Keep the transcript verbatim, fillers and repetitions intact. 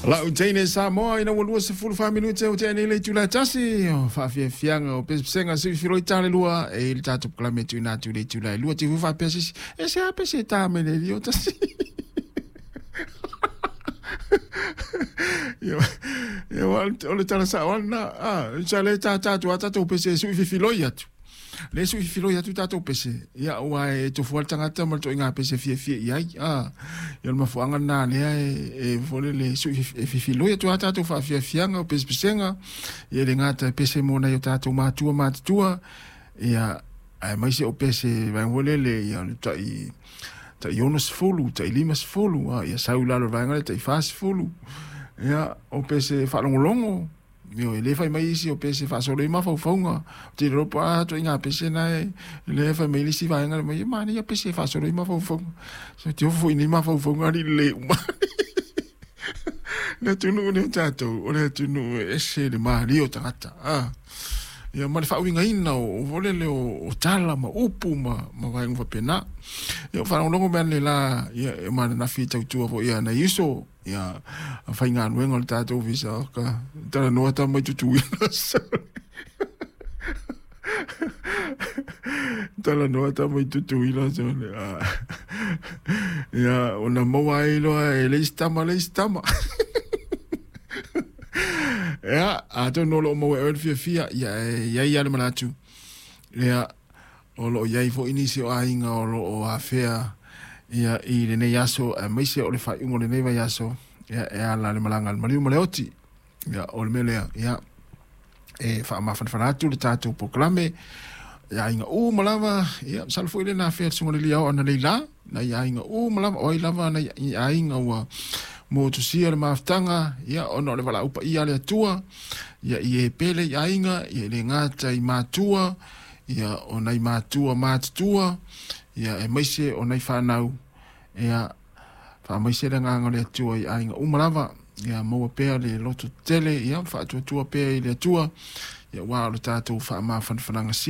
Lau teine Samoa ina ua lua sefulu fa minute o tea nei le itula e tasi o faafiafiaga o pesepesega sui filoi tale lua e i le tatou polokalame tuuina atu i le itula e lua te fu faapea sisi e se a pese ta me le lio tasi. Ia ia o le tala sao na a sa le ta ta tu ata pese sui filoi atu. Le sui filoi atu tatou pese ia ua e tofu al tagata ma le toaiga pese fiafia i ai a ia o le mafuaaga lena lea e fole le sui e fifiloi atu a tatou faafiafiaga o pesepesega ia le gata e pese mo nai o tatou matua matutua ia ae maise o pese vaega foi lele ia o le tai tai ono sefulu tai lima sefulu a ia sau i lalo o le vaega lea tai fa sefulu ia o pese faalogologo. Io e le fai mai isi o pese faasolo i mafaufauga te iloa po a toaiga pese na e le fai mai le isi vaega le mai e manaia pese faasolo i mafaufauga so te ofo foi nei mafaufauga alii lelei uma. Le atunuu nei o tatou o le atunuu e ese le malie o tagata a ia ma le faauigaina o o lele o, o tala ma upu ma ma vaega faapena. Ia o faalogologo mea nei la ia e mananafi tautua foi ia nai uso ia faigaluega o le tatou ofisa o ka talanoa ta mai Tutuila. Talanoa ta mai Tutuila sole ia ona maua ai loa e le isi tama le isi tama. Ia atonu o loo maua e oe le fiafia ia e iai a le manatu ia o loo iai foi nisi o aiga o loo afea ia i lenei aso aemaise o le faaiuga o lenei vaiaso ia e ala le malaga a le maliu ma le oti ia o le mea lea ia e faamafanafana atu le tatou polokalame ia aiga uma lava ia masalo foi lena afea le susuga i le liao ana leila nai aiga uma lava o ai lava nai aiga ua motusia le mafutaga ia ona o le valaau paia a le Atua ia i e pele i aiga ia e le gata i matua ia o nai matua matutua ia aemaise o nai fanau ia faamaise le agaga o le Atua i aiga uma lava ia maua pea le loto tetele ia faatuatua pea i le Atua ia ua o le tatou faamafanafanaga sili.